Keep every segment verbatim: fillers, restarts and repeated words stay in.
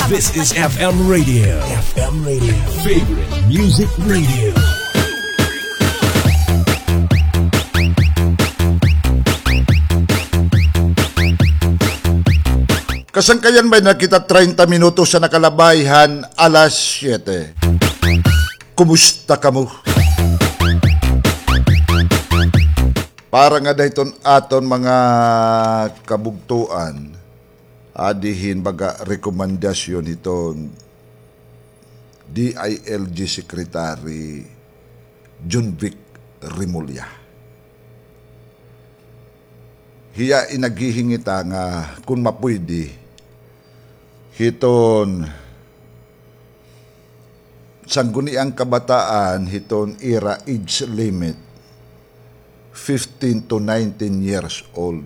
This is F M Radio. F M Radio. Favorite Music Radio. Kasangkayan, may na kita treinta minutos an nakalabay han alas siyete. Kumusta kamo? Para ngada hiton aton mga kabugtoan, adi hin baga rekomendasyon hiton D I L G Secretary Jonvic Remulla. Hiya in naghihingit nga kon mapuydi hiton Sangguniang Kabataan hiton ira age limit, fifteen to nineteen years old.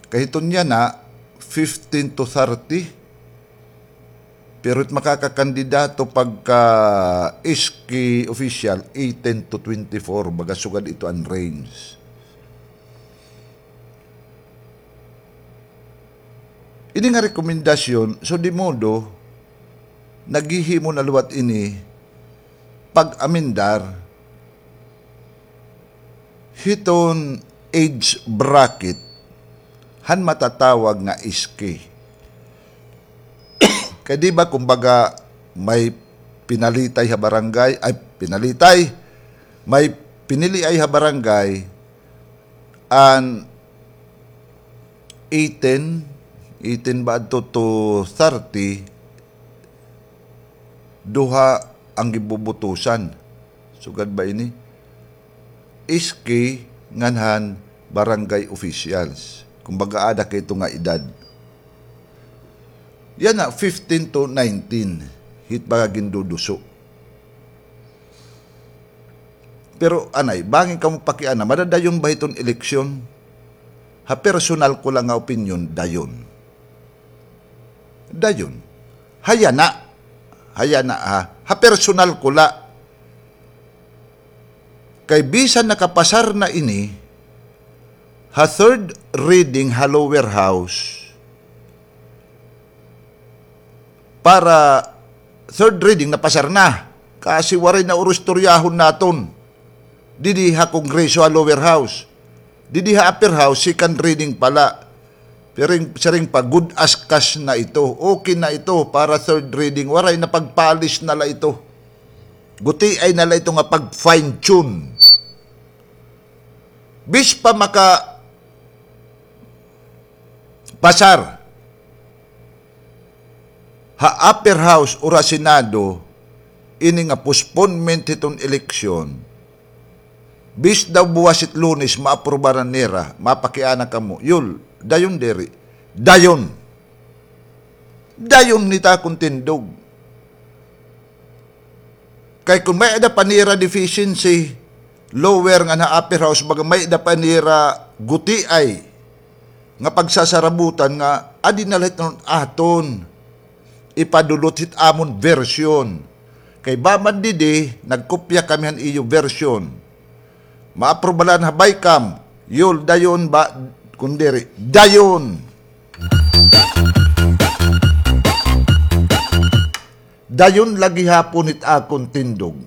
Kay hiton yana, fifteen to thirty, pero it makakakandidato pagka S K official, eighteen to twenty-four, baga sugad ito an range. Ini nga rekomendasyon, so di modo, naghihimo na liwat ini pag-amendar hiton age bracket han matatawag nga S K. Kay di ba, kumbaga, may pinalitay ha barangay, ay, pinalitay, may piniliay ha barangay, an eighteen, eighteen ba adto to thirty, duha an ginbubutusan. Sugad ba ini? S K ngan han barangay officials. Kumbaga, ada kay ito nga edad. Yana, fifteen to nineteen, hit baga ginduduso. Pero anay, bangin kamo pakiana, madadayon ba hiton eleksyon? Ha personal ko la nga opinyon, dayon. Dayon. Ha yana. Ha yana, ha. Ha personal ko la. Kay bisan nakapasar na ini ha third reading ha lower house, para third reading napasar na. Kasi waray na uro istoryahon naton. Didi ha Kongreso ha lower house. Didi ha upper house, second reading pa la. Pero siring pa, good as cash na ito. Okay na ito para third reading. Waray na, pagpalis na la ito. Gutiay na la ito nga pag-fine tune. Bis pa makapasar ha upper house or ha Senado ini nga postponement hiton eleksyon, bis daw buwas it Lunes maaprubaran nira, mapakiana kamo, Yul, dayon diri. Dayon. Dayon, it akon tindog. Kay kon may-ada pa nira deficiency, lower ngan ha upper house, baga may-ada pa nira gutiay nga pagsasarabutan nga adi na la hiton aton ipadulot hit amon version. Kay ba man didi, nagkopya kami han iyo version. Maaprubaran ha BICAM, Yul, dayon ba, kon diri, dayon. Dayon la gihapon it akon tindog.